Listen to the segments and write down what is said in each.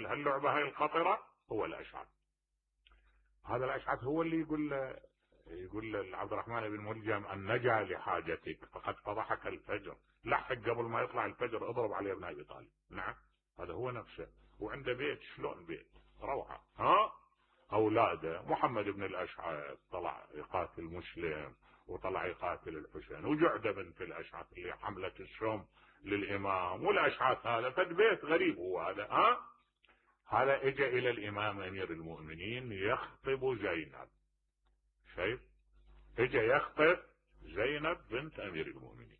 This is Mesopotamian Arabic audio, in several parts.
هاللعبة هاي الخطرة هو الأشعث. هذا الأشعث هو اللي يقول عبد الرحمن بن ملجم أن نجا لحاجتك فقد فضحك الفجر، لحق قبل ما يطلع الفجر اضرب عليه ابن أبي طالب. نعم هذا هو نفسه، وعنده بيت شلون بيت روعة. أولاده محمد بن الأشعث طلع يقاتل مسلم وطلع يقاتل الحسين، وجعده بنت الأشعث اللي حملت السم للإمام، والأشعث هذا فد بيت غريب هو هذا. هذا اجى إلى الإمام أمير المؤمنين يخطب زينب، شايف اجى يخطب زينب بنت أمير المؤمنين.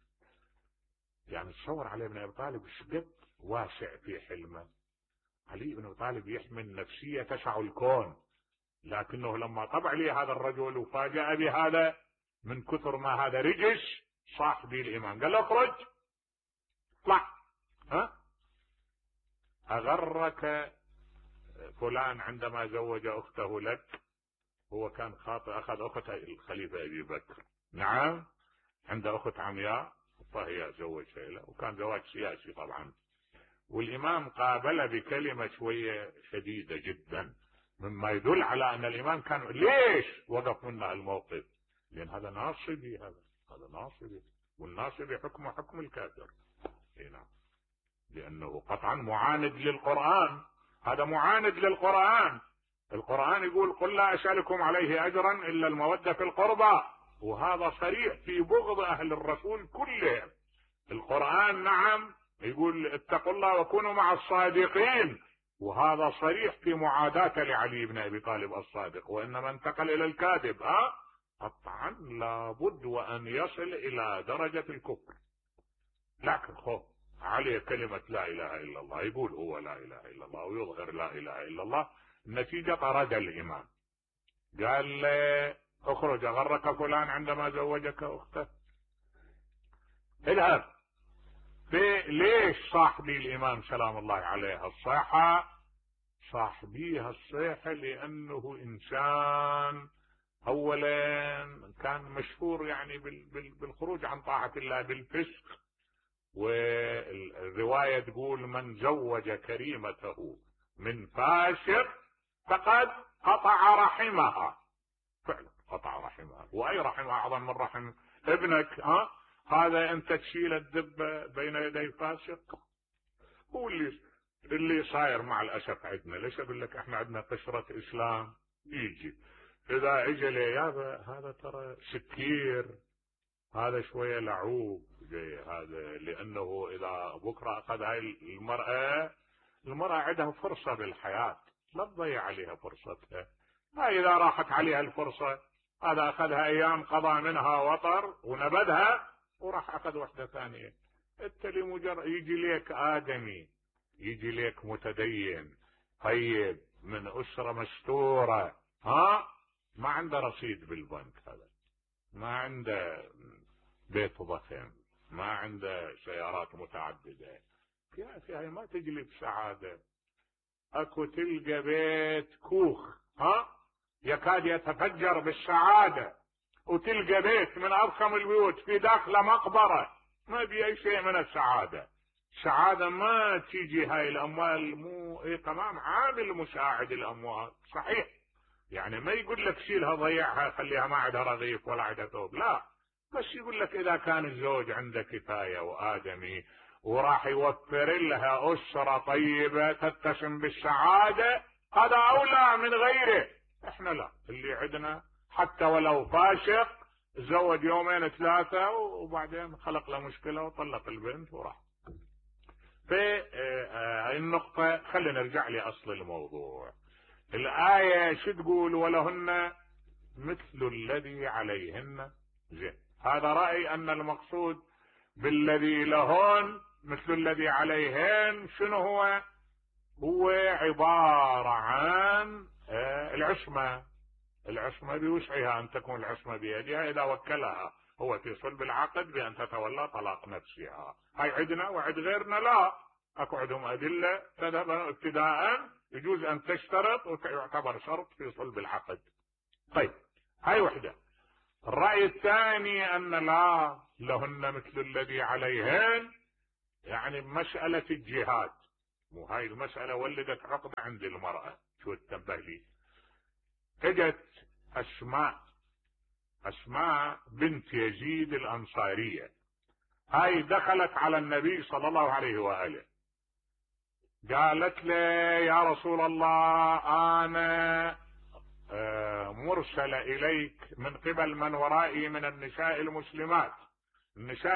يعني تصور علي بن أبي طالب شقد واسع في حلمه. علي بن أبي طالب يحمل نفسية تسع الكون، لكنه لما طبع لي هذا الرجل وفاجأ بهذا من كثر ما هذا رجش صاحبي الإمام قال له اخرج اطلع. أغرك فلان عندما زوج أخته لك، هو كان خاطئ، أخذ أخت الخليفة أبي بكر، نعم عنده أخت عمياء فهي زوجها له، وكان زواج سياسي طبعا، والإمام قابل بكلمة شوية شديدة جدا، مما يدل على أن الإمام كان ليش وقف منا الموقف، لأن هذا ناصبي، هذا ناصبي، والناصبي حكمه حكم الكافر. نعم لأنه قطعا معاند للقرآن، هذا معاند للقرآن. القرآن يقول قل لا أسألكم عليه أجرا إلا المودة في القربى، وهذا صريح في بغض أهل الرسول كلهم. القرآن نعم يقول اتقوا الله وكونوا مع الصادقين، وهذا صريح في معاداته لعلي بن أبي طالب الصادق، وإنما انتقل إلى الكاذب. قطعا لابد وأن يصل إلى درجة الكفر. لكن عليه كلمة لا إله إلا الله، يقول هو لا إله إلا الله ويظهر لا إله إلا الله، النتيجة طرد الإمام، قال له اخرج أغرك فلان عندما زوجك أخته، اذهب. ليش صاحبي الإمام سلام الله عليه الصيحة؟ صاحبيها الصيحة لأنه إنسان أولا كان مشهور يعني بالخروج عن طاعة الله بالفسق، والرواية تقول من زوج كريمته من فاسق فقد قطع رحمها. فعلا قطع رحمها، وأي رحمها أعظم من رحم ابنك؟ هذا أنت تشيل الدبة بين يدي فاسق. هو اللي صاير مع الأسف عندنا. ليش أقول لك احنا عندنا قشرة إسلام، يجي إذا اجى لي هذا ترى سكير، هذا شوية لعوب زي هذا، لأنه إذا بكرة أخذ هاي المرأة عندها فرصة بالحياة، لا تضيع عليها فرصتها. هاي إذا راحت عليها الفرصة، هذا أخذها أيام قضى منها وطر ونبذها وراح أخذ واحدة ثانية. أنت لمجرد يجي لك آدمي، يجي لك متدين طيب من أسرة مستورة، ما عنده رصيد بالبنك، هذا ما عنده بيت ضخم، ما عنده سيارات متعددة، في هاي ما تجلب سعادة. اكو تلقى بيت كوخ يكاد يتفجر بالسعادة، وتلقى بيت من أضخم البيوت في داخله مقبرة ما بأي شيء من السعادة. السعادة ما تيجي هاي الأموال، مو تمام عامل مساعد الأموال صحيح، يعني ما يقول لك شيلها ضيعها خليها ما عندها رغيف ولا عندها ثوب، لا، بس يقول لك إذا كان الزوج عنده كفاية وآدمي وراح يوفر لها أسرة طيبة تتسم بالسعادة، هذا أولى من غيره. احنا لا، اللي عندنا حتى ولو فاسق تزوج يومين ثلاثة وبعدين خلق له مشكلة وطلق البنت وراح. في النقطة خلينا نرجع لأصل الموضوع. الآية شو تقول؟ ولهن مثل الذي عليهن زين. هذا رأي أن المقصود بالذي لهن مثل الذي عليهن شنو هو؟ هو عبارة عن العصمة. العصمة بوسعها أن تكون العصمة بيدها إذا وكلها هو في صلب العقد بأن تتولى طلاق نفسها. هاي عندنا وعند غيرنا لا، أكو عندهم أدلة تذهب ابتداء يجوز أن تشترط ويعتبر شرط في صلب العقد. طيب هاي وحدة. الرأي الثاني أن لا، لهن مثل الذي عليهن، يعني مسألة الجهاد وهاي المسألة ولدت عقدة عند المرأة. شو تنبه لي؟ اجت اسماء بنت يزيد الانصارية، هاي دخلت على النبي صلى الله عليه وآله، قالت له يا رسول الله انا مرسل اليك من قبل من ورائي من النساء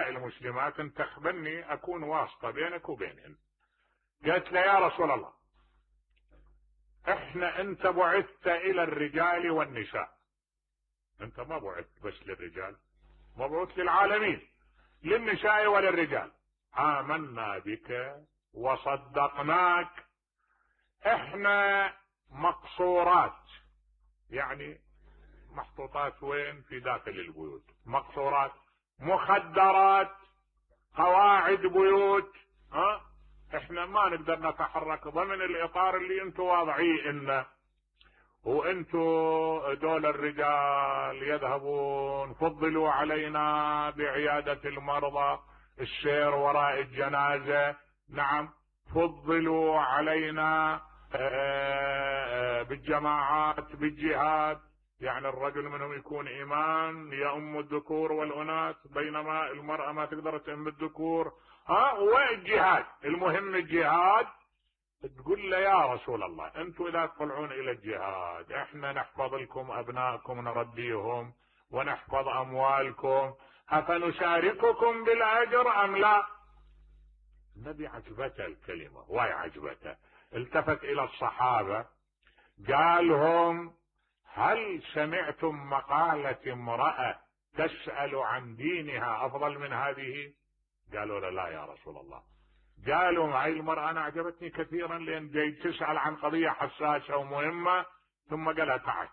المسلمات، انت تخبرني اكون واسطة بينك وبينهن. قالت له يا رسول الله انت بعثت الى الرجال والنساء، انت ما بعثت بس للرجال، مبعوث للعالمين، للنساء وللرجال. آمنا بك وصدقناك، احنا مقصورات، يعني محطوطات وين؟ في داخل البيوت، مقصورات، مخدرات، قواعد بيوت، احنا ما نقدر نتحرك ضمن الاطار اللي انتم واضعيه لنا، وانتم دول الرجال يذهبون، فضلوا علينا بعيادة المرضى، السير وراء الجنازة، نعم، فضلوا علينا بالجماعات، بالجهاد، يعني الرجل منهم يكون إمام يؤم الذكور والأناث، بينما المرأة ما تقدر تؤم الذكور، والجهاد، المهم الجهاد. تقول له يا رسول الله انتم اذا تطلعون الى الجهاد احنا نحفظ لكم ابنائكم، نربيهم ونحفظ اموالكم، افنشارككم بالاجر ام لا؟ النبي عجبته الكلمة، واي عجبته، التفت الى الصحابة قالهم هل سمعتم مقالة امرأة تسأل عن دينها افضل من هذه؟ قالوا لا يا رسول الله. قالوا هاي المرأة انا عجبتني كثيرا لان جاي تسأل عن قضية حساسة ومهمة، ثم قالها تعال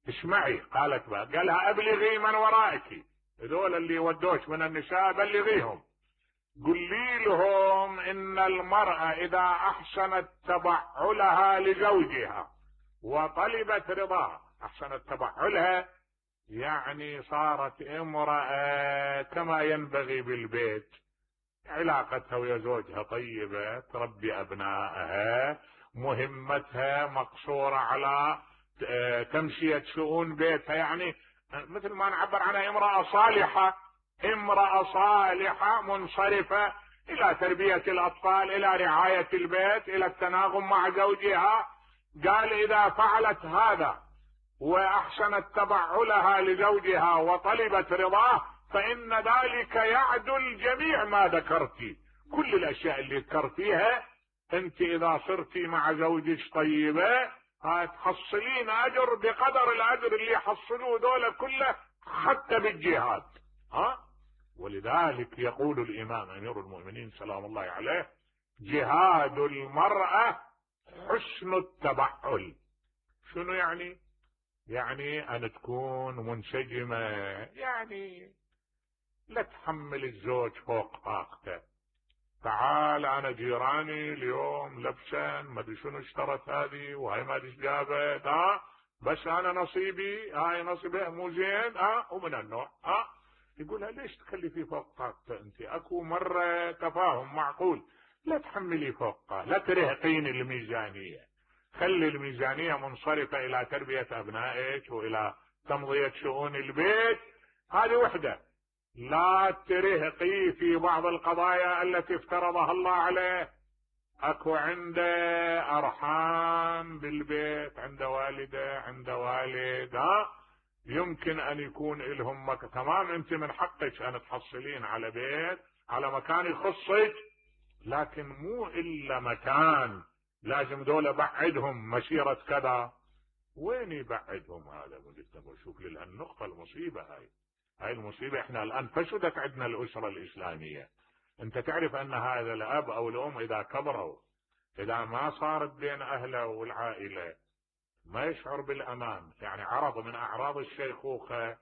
اسمعي. قالت بقى، قالها ابلغي من ورائك، هذول اللي ودوش من النساء بلغيهم، قولي لهم ان المرأة اذا احسنت تبعلها لزوجها وطلبت رضاه، احسنت تبعلها يعني صارت امرأة كما ينبغي بالبيت، علاقتها ويا زوجها طيبة، تربي ابنائها، مهمتها مقصورة على تمشية شؤون بيتها، يعني مثل ما نعبر عنها امرأة صالحة منصرفة الى تربية الاطفال، الى رعاية البيت، الى التناغم مع زوجها. قال اذا فعلت هذا واحسنت تبعلها لزوجها وطلبت رضاه فان ذلك يعدل جميع ما ذكرتي، كل الاشياء اللي ذكرتيها انت اذا صرتي مع زوجك طيبة هتحصلين اجر بقدر الاجر اللي يحصلوه دول كله حتى بالجهاد. ولذلك يقول الامام امير المؤمنين سلام الله عليه جهاد المرأة حسن التبعل. شنو يعني؟ يعني ان تكون منسجمة، يعني لا تحمل الزوج فوق طاقته. تعال انا جيراني اليوم لبسن ما ادري شنو اشترت هذه وهي ما ادري ايش جابت، بس انا نصيبي، هاي نصيبه مو زين، ومن النوع يقولها ليش تخلي فوق طاقته انت؟ اكو مرة تفاهم معقول، لا تحملي فوقها، لا ترهقين الميزانية، خلي الميزانية منصرفة الى تربية ابنائك والى تمضية شؤون البيت، هذه وحدة. لا ترهقي في بعض القضايا التي افترضها الله عليه، اكو عنده ارحام بالبيت، عنده والدة، عنده والد، يمكن ان يكون لهم تمام، انت من حقك ان تحصلين على بيت، على مكان يخصك، لكن مو الا مكان لازم دول بعدهم مسيرة كذا. وين يبعدهم هذا؟ شوف للنقطة المصيبة هاي المصيبة. احنا الان فسدت عندنا الاسرة الاسلامية. انت تعرف ان هذا الاب او الام اذا كبروا، اذا ما صارت بين اهله والعائلة ما يشعر بالامان، يعني عرض من اعراض الشيخوخة،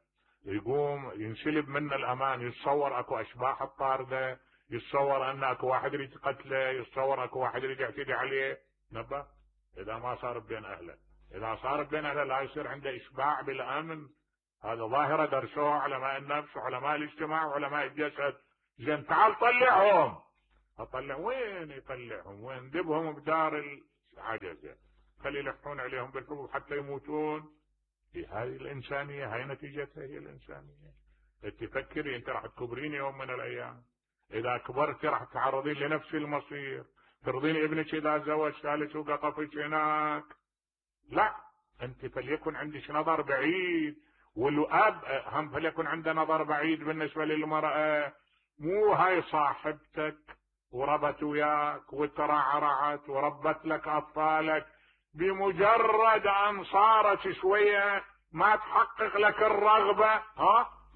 يقوم ينسلب منه الامان، يتصور اكو اشباح الطاردة، يتصور ان اكو واحد يريد قتله، يتصور اكو واحد يريد يعتدي عليه. نبه اذا ما صار بين اهله، اذا صار بين اهله لا يصير عنده اشباع بالامن. هذا ظاهرة درسوها علماء النفس وعلماء الاجتماع وعلماء الجسد. زين تعال طلعهم، اطلع وين يطلعهم؟ وين؟ دبهم بدار العجزة، خلي يلحون عليهم بالحبوب حتى يموتون. هذه الانسانية، هاي نتيجتها هي الانسانية. تفكري انت راح تكبرين يوم من الايام، اذا كبرتي راح تتعرضين لنفس المصير. ترضين ابنك اذا زوج ثالث وقطفك هناك؟ لا، انت فليكن عندك نظر بعيد، والاب هم فليكن عنده نظر بعيد بالنسبة للمرأة. مو هاي صاحبتك وربت وياك وترعرعت وربت لك اطفالك، بمجرد ان صارت شوية ما تحقق لك الرغبة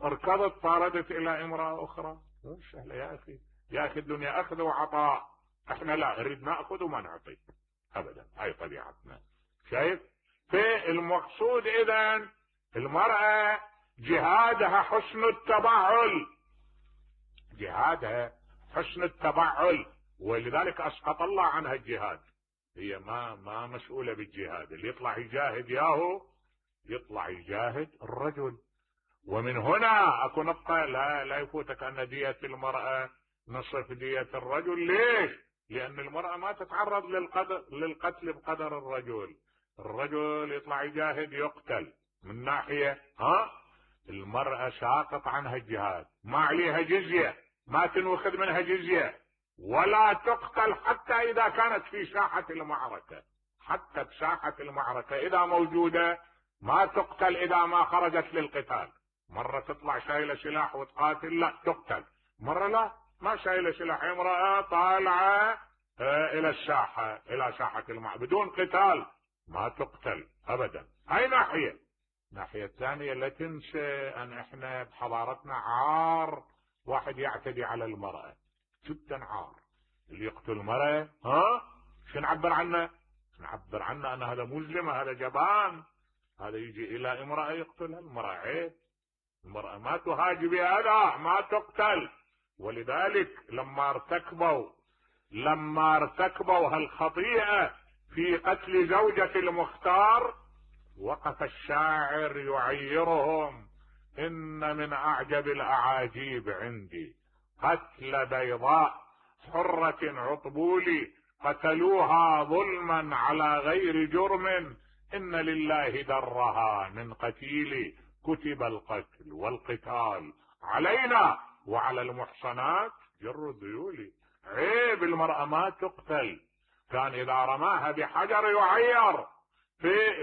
اركضت طاردت الى امرأة اخرى. مو سهلة يا اخي، يا اخي الدنيا اخذ وعطاء، احنا لا نريد ناخذ وما نعطي ابدا، هاي طبيعتنا. شايف؟ فالمقصود اذا المرأة جهادها حسن التبعل، جهادها حسن التبعل، ولذلك اسقط الله عنها الجهاد. هي ما مسؤولة بالجهاد، اللي يطلع يجاهد ياهو يطلع يجاهد الرجل. ومن هنا اكو نقطة لا يفوتك ان دية المرأة نصف دية الرجل. ليش؟ لان المرأة ما تتعرض للقتل بقدر الرجل. الرجل يطلع يجاهد يقتل من ناحية، المرأة ساقط عنها الجهاد، ما عليها جزية، ما تنوخذ منها جزية، ولا تقتل حتى اذا كانت في ساحة المعركة. حتى بساحة المعركة اذا موجودة ما تقتل اذا ما خرجت للقتال. مرة تطلع شايلة سلاح وتقاتل، لا تقتل. مرة لا، ما شايلة سلاح، امرأة طالعة الى الساحة، الى ساحة المعركة بدون قتال، ما تقتل ابدا. هاي ناحية. الناحية الثانية لا تنسى ان احنا بحضارتنا عار واحد يعتدي على المرأة، جدا عار. اللي يقتل المرأة شو نعبر عنه؟ نعبر عنه ان هذا مجرم، هذا جبان، هذا يجي الى امرأة يقتلها. المرأة عيب، المرأة ما تهاجم بهذا، ما تقتل. ولذلك لما ارتكبوا هالخطيئة في قتل زوجة المختار، وقف الشاعر يعيرهم: ان من اعجب الاعاجيب عندي قتل بيضاء حرة عطبولي، قتلوها ظلما على غير جرم، ان لله درها من قتيل، كتب القتل والقتال علينا وعلى المحصنات جر الذيول. عيب المرأة ما تقتل، كان اذا رماها بحجر يعير.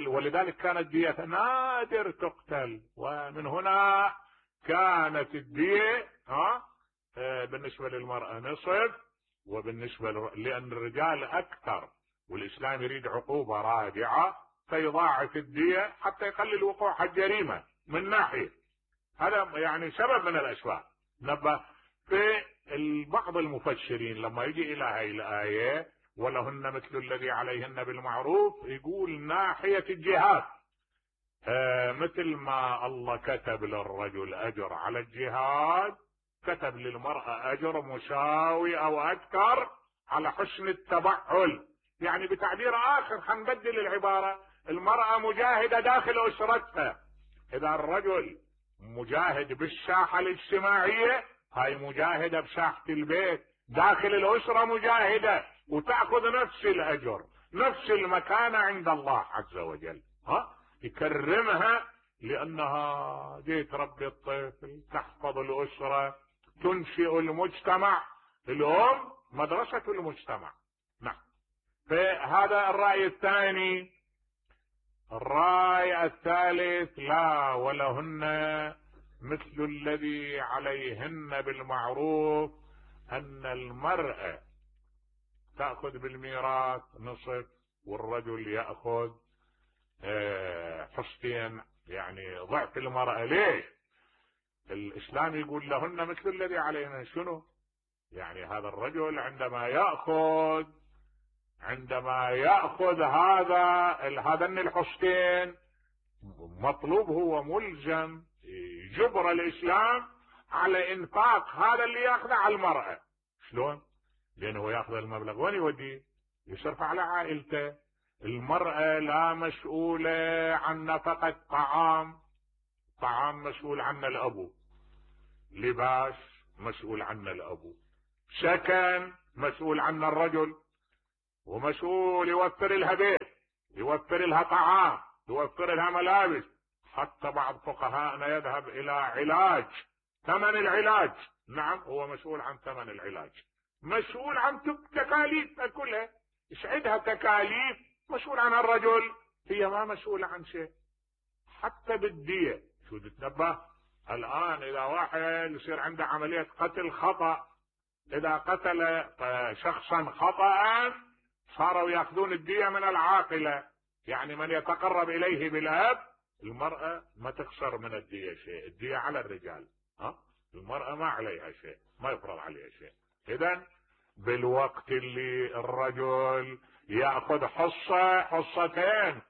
ولذلك كانت دية نادر تقتل. ومن هنا كانت الدية بالنسبة للمرأة نصف، وبالنسبة لأن الرجال أكثر، والإسلام يريد عقوبة رادعة فيضاعف الدية حتى يقلل وقوع الجريمة من ناحية. هذا يعني سبب من الأسباب. نبه في بعض المفسرين لما يجي إلى هاي الآية ولهن مثل الذي عليهن بالمعروف، يقول ناحية الجهاد مثل ما الله كتب للرجل أجر على الجهاد، كتب للمرأة أجر مساوي أو أكثر على حسن التبعل. يعني بتعبير آخر حنبدل العبارة، المرأة مجاهدة داخل أسرتها. إذا الرجل مجاهد بالساحة الاجتماعية، هاي مجاهدة بساحة البيت، داخل الأسرة مجاهدة، وتأخذ نفس الأجر، نفس المكانة عند الله عز وجل. يكرمها لأنها جيت تربي الطفل، تحفظ الأسرة، تنشئ المجتمع. الأم مدرسة المجتمع. نعم. فهذا الرأي الثاني. الرأي الثالث: لا، ولهن مثل الذي عليهن بالمعروف، أن المرأة تأخذ بالميراث نصف والرجل يأخذ حصتين، يعني ضعف المرأة. ليش؟ الإسلام يقول لهن مثل الذي عليهن. شنو يعني؟ هذا الرجل عندما يأخذ هذين الحصتين، مطلوب هو ملزم جبر الإسلام على إنفاق هذا اللي يأخذه على المرأة. شلون؟ لأنه يأخذ المبلغ وين يوديه؟ يصرف على عائلته. المرأة لا مسؤولة عن نفقة طعام مسؤول عنه الأبو، لباس مسؤول عنه الأبو، سكن مسؤول عنها الرجل، ومسؤول يوفر لها بيت، يوفر لها طعام، يوفر لها ملابس. حتى بعض فقهاءنا يذهب الى علاج، ثمن العلاج، نعم هو مسؤول عن ثمن العلاج، مسؤول عن تكاليفها كلها، ايش عندها تكاليف مسؤول عنها الرجل، هي ما مسؤولة عن شيء. حتى بالدية شو تتنبه الان اذا واحد يصير عنده عملية قتل خطأ، اذا قتل شخصا خطأ صاروا ياخذون الدية من العاقلة، يعني من يتقرب اليه بالاب. المرأة ما تخسر من الدية شيء، الدية على الرجال، المرأة ما عليها شيء، ما يفرض عليها شيء. اذا بالوقت اللي الرجل ياخذ حصة حصتين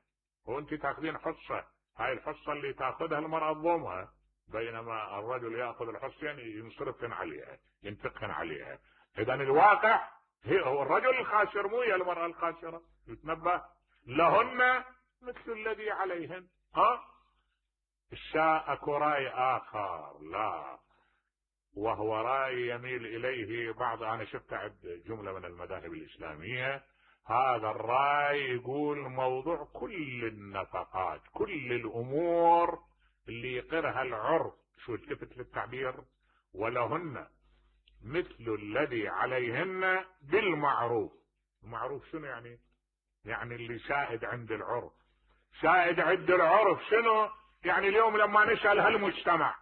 وانت تاخذين حصة، هاي الحصة اللي تاخذها المرأة تضمها، بينما الرجل ياخذ الحصتين ينصرفن عليها، ينفقهن عليها. اذا الواقع هو الرجل الخاسر مو هي المرأة الخاسرة. يتنبه لهن مثل الذي عليهن. الشاء اكو راي اخر، لا، وهو راي يميل اليه بعض، انا شفت عند جملة من المذاهب الاسلامية هذا الراي يقول موضوع كل النفقات، كل الامور اللي يقرها العرف، شو التفت للتعبير، ولهن مثل الذي عليهن بالمعروف. المعروف شنو يعني؟ يعني اللي شائد عند العرف. شائد عند العرف شنو يعني؟ اليوم لما نسأل هالمجتمع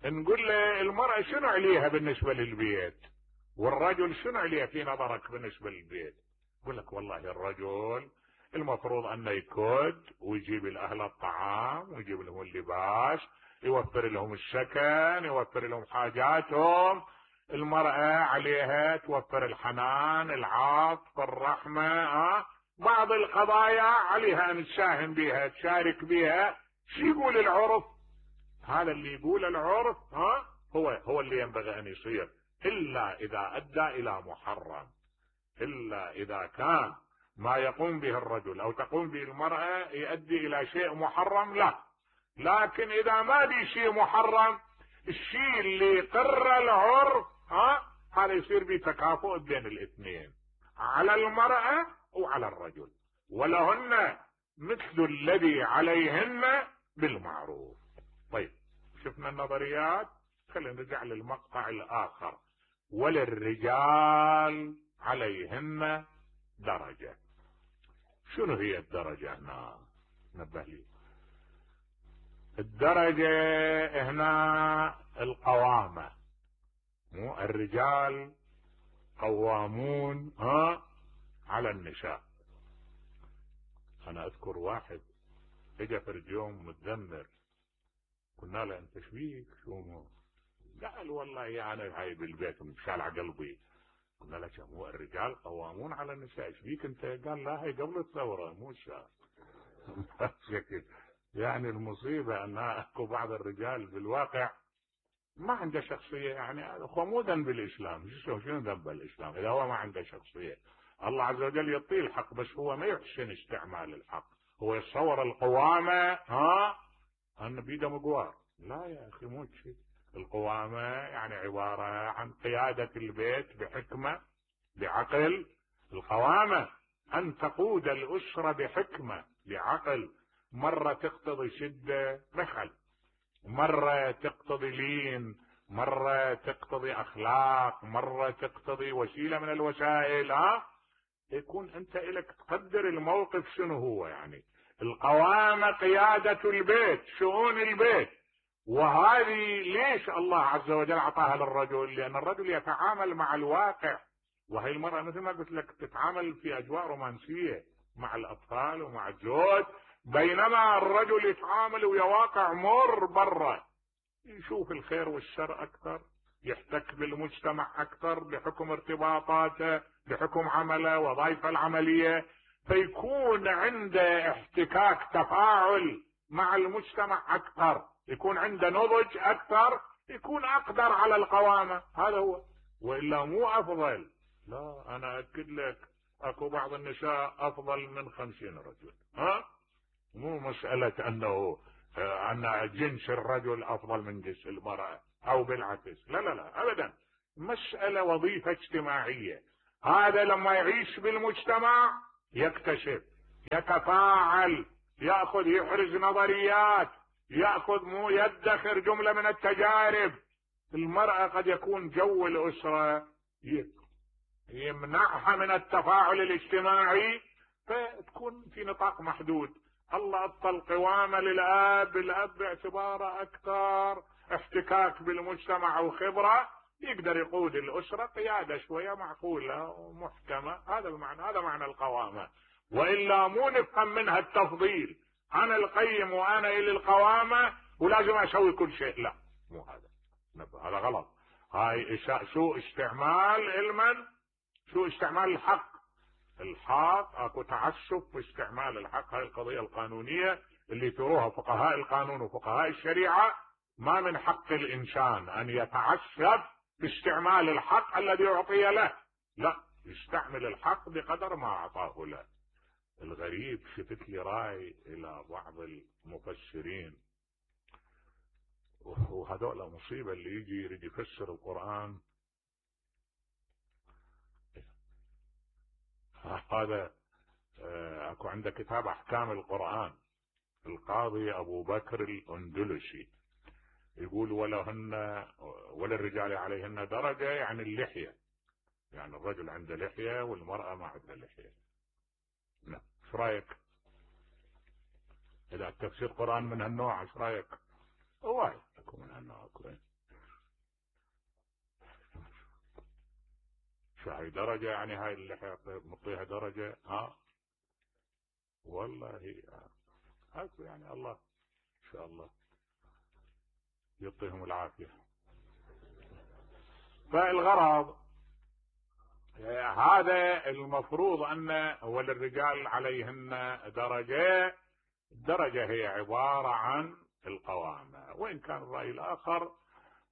نقول له المرأة شنو عليها بالنسبة للبيت، والرجل شنو عليه في نظرك بالنسبة للبيت؟ يقول لك والله الرجل المفروض انه يكد ويجيب الاهل الطعام ويجيب لهم اللباس، يوفر لهم السكن، يوفر لهم حاجاتهم. المرأة عليها توفر الحنان، العطف، الرحمة، بعض القضايا عليها ان تساهم بها، تشارك بها. شو يقول العرف؟ هذا اللي يقول العرف هو اللي ينبغي ان يصير، الا اذا ادى الى محرم، الا اذا كان ما يقوم به الرجل او تقوم به المرأة يؤدي الى شيء محرم، لا. لكن اذا ما بي شيء محرم، الشيء اللي قر العرف هذا يصير بتكافؤ بين الاثنين، على المرأة وعلى الرجل. ولهن مثل الذي عليهن بالمعروف. طيب شفنا النظريات، خلينا نرجع للمقطع الاخر. وللرجال عليهن درجة. شنو هي الدرجة هنا؟ نبه لي. الدرجة هنا القوامة، مو الرجال قوامون على النساء. انا اذكر واحد اجى في يوم متذمر، قلنا له انت شبيك شو؟ قال والله يعني هاي بالبيت مشالع قلبي. قلنا له مو الرجال قوامون على النساء، شبيك انت؟ قال لا هي قبل الثورة مو الشهر. يعني المصيبة ان اكو بعض الرجال بالواقع ما عنده شخصية، يعني خمودا بالاسلام. شنو ذنب الاسلام اذا هو ما عنده شخصية؟ الله عز وجل يعطيه الحق، بس هو ما يحسن استعمال الحق، هو يتصور القوامة ان بيده مقوار. لا يا اخي مو شيء. القوامة يعني عبارة عن قيادة البيت بحكمة بعقل. القوامة ان تقود الاسرة بحكمة بعقل. مرة تقتضي شدة بخل، مرة تقتضي لين، مرة تقتضي اخلاق، مرة تقتضي وسيلة من الوسائل. يكون انت الك تقدر الموقف شنو هو. يعني القوامة قيادة البيت، شؤون البيت. وهذه ليش الله عز وجل اعطاها للرجل؟ لان الرجل يتعامل مع الواقع، وهي المرأة مثل ما قلت لك تتعامل في اجواء رومانسية مع الاطفال ومع الزوج، بينما الرجل يتعامل ويا واقع مر برا، يشوف الخير والشر اكثر، يحتك بالمجتمع اكثر بحكم ارتباطاته، بحكم عمله وظائفه العملية، فيكون عنده احتكاك تفاعل مع المجتمع اكثر، يكون عنده نضج اكثر، يكون اقدر على القوامة. هذا هو. والا مو افضل. لا انا اكد لك اكو بعض النساء افضل من 50 رجل. مو مسألة انه ان جنس الرجل افضل من جنس المرأة او بالعكس، لا لا لا ابدا. مسألة وظيفة اجتماعية، هذا لما يعيش بالمجتمع يكتشف، يتفاعل، يأخذ، يحرز نظريات، يأخذ يدخر جملة من التجارب. المرأة قد يكون جو الأسرة يمنعها من التفاعل الاجتماعي، فتكون في نطاق محدود. الله أعطى القوامة للأب، الأب باعتباره أكثر احتكاك بالمجتمع وخبرة يقدر يقود الأسرة قيادة شوية معقولة ومحكمة. هذا المعنى، هذا معنى القوامة. وإلا مو نفهم منها التفضيل، أنا القيم وأنا إلي القوامة ولازم أسوي كل شيء. لا، مو هذا، هذا غلط. هاي سوء استعمال علما، سوء استعمال الحق. الحق اكو تعسف في استعمال الحق. هاي القضية القانونية اللي تروها فقهاء القانون وفقهاء الشريعة، ما من حق الإنسان أن يتعسف في استعمال الحق الذي أعطي له، لا، يستعمل الحق بقدر ما أعطاه له. الغريب شفت لي راي إلى بعض المفسرين، وهذول مصيبة، اللي يجي يريد يفسر القرآن. هذا اكو عنده كتاب احكام القرآن، القاضي ابو بكر الاندلسي، يقول وللرجال عليهن درجة، يعني اللحية، يعني الرجل عنده لحية والمرأة ما عندها لحية. نعم، ايش رايك؟ اذا تفسير قرآن من هالنوع ايش رايك؟ وايد اكو من هالنوع. شو هاي درجة؟ يعني هاي اللحية نعطيها درجة؟ والله هاكو، يعني الله ان شاء الله يعطيهم العافية. فالغرض هذا المفروض أن وللرجال عليهن درجة. الدرجة هي عبارة عن القوامة، وإن كان الرأي الآخر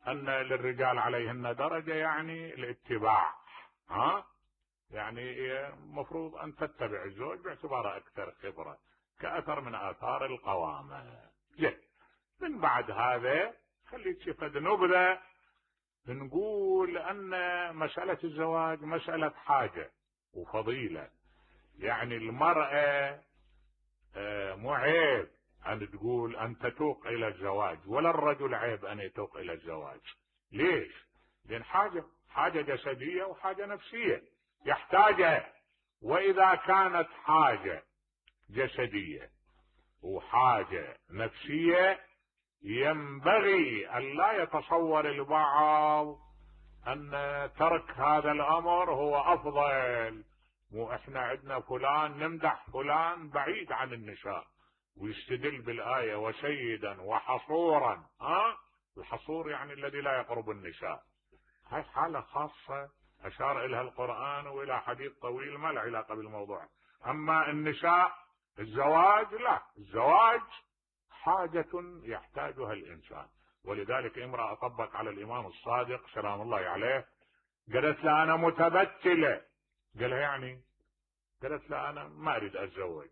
أن للرجال عليهن درجة يعني الاتباع، يعني مفروض أن تتبع الزوج باعتباره أكثر خبرة، كأثر من آثار القوامة. من بعد هذا خلي تشفد نبذة، نقول أن مسألة الزواج مسألة حاجة وفضيلة. يعني المرأة مو عيب أن تقول أن تتوق إلى الزواج، ولا الرجل عيب أن يتوق إلى الزواج. ليش؟ لأن حاجة جسدية وحاجة نفسية يحتاجها. وإذا كانت حاجة جسدية وحاجة نفسية، ينبغي أن لا يتصور البعض أن ترك هذا الأمر هو أفضل. مو إحنا عندنا فلان نمدح فلان بعيد عن النساء، ويستدل بالآية وسيدا وحصورا. الحصور يعني الذي لا يقرب النساء. هاي حالة خاصة أشار إليها القرآن وإلى حديث طويل ما له علاقة بالموضوع. أما النساء الزواج لا، الزواج حاجة يحتاجها الإنسان. ولذلك امرأة طبق على الإمام الصادق سلام الله عليه، قالت له أنا متبتلة. قالها يعني؟ قالت له أنا ما أريد أتزوج.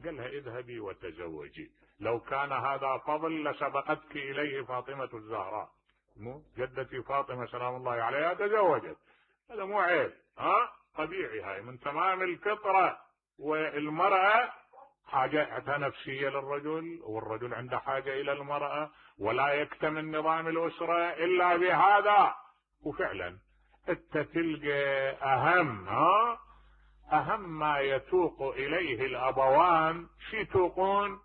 قالها اذهبي وتزوجي، لو كان هذا فضل لسبقتك إليه فاطمة الزهراء، مو جدتي فاطمة سلام الله عليها تزوجت. هذا مو عيب، طبيعي، هاي من تمام الفطرة. والمرأة حاجتها نفسية للرجل، والرجل عنده حاجة إلى المرأة، ولا يكتمل نظام الأسرة إلا بهذا. وفعلا انت تلقى أهم ما يتوق إليه الأبوان شي يتوقون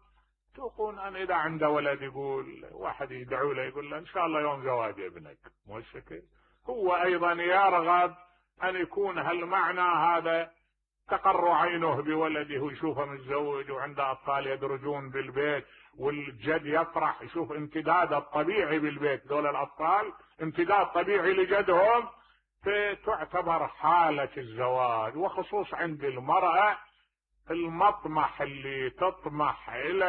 أن إذا عنده ولد يقول واحد يدعو له يقول له إن شاء الله يوم زواج ابنك، مو الشكل. هو أيضا يرغب أن يكون هالمعنى هذا تقر عينه بولده ويشوفه متزوج وعنده أطفال يدرجون بالبيت، والجد يفرح يشوف امتداد الطبيعي بالبيت. دول الأطفال امتداد طبيعي لجدهم، فتعتبر حالة الزواج. وخصوص عند المرأة المطمح اللي تطمح إلى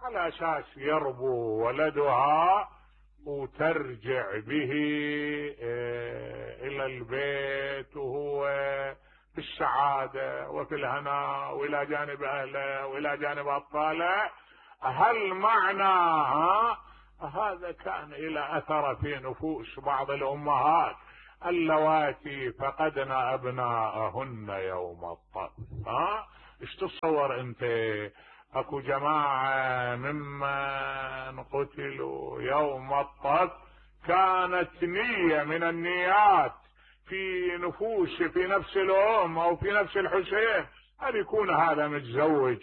على أساس يربو ولدها وترجع به إلى البيت وهو في السعادة وفي الهناء وإلى جانب أهله وإلى جانب أطفاله. هل معنى هذا كان إلى أثر في نفوس بعض الأمهات اللواتي فقدن ابناءهن يوم الطف. ايش تتصور انت؟ اكو جماعة ممن قتلوا يوم الطف كانت نية من النيات في نفس الام او في نفس الحسين ان يكون هذا متزوج.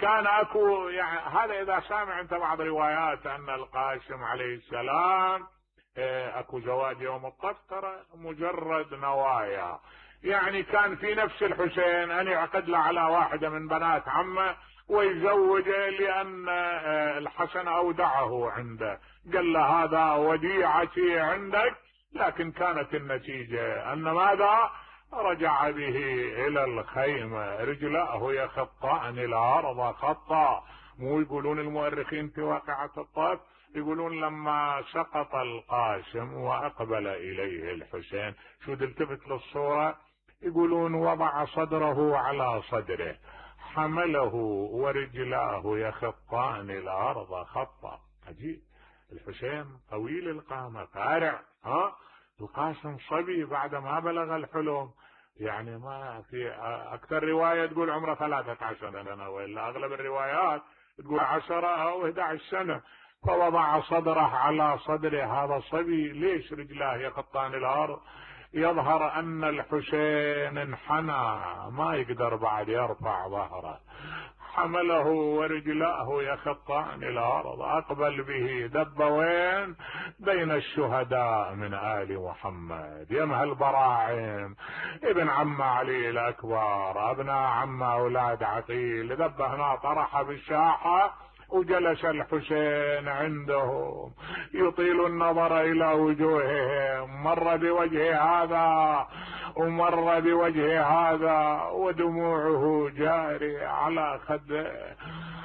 كان اكو يعني هذا اذا سامع انت بعض روايات ان القاسم عليه السلام اكو زواج يوم الطف، ترى مجرد نوايا. يعني كان في نفس الحسين ان يعقد له على واحدة من بنات عمه ويزوجه، لان الحسن اودعه عنده، قال له هذا وديعتي عندك. لكن كانت النتيجة ان ماذا؟ رجع به الى الخيمة، رجلاه يخطان الارض خطا. مو يقولون المؤرخين في واقعة الطف، يقولون لما سقط القاسم واقبل اليه الحسين، شو تلتفت للصورة، يقولون وضع صدره على صدره، حمله ورجلاه يخطان الارض خطا. عجيب. الحسين طويل القامة فارع، القاسم صبي بعد ما بلغ الحلم. يعني ما في اكثر رواية تقول عمره 13 سنة، وإلا اغلب الروايات تقول 10 أو 11 سنة. فوضع صدره على صدره، هذا صبي، ليش رجلاه يخطان الارض؟ يظهر ان الحسين انحنى، ما يقدر بعد يرفع ظهره، حمله ورجلاه يخطان الارض، اقبل به، دب وين؟ بين الشهداء من آل محمد، يمها البراعم، ابن عم علي الاكبر، ابناء عم اولاد عقيل، دب هنا طرح بالساحة، وجلس الحسين عندهم يطيل النظر الى وجوههم، مر بوجه هذا ومر بوجه هذا ودموعه جارية على خده.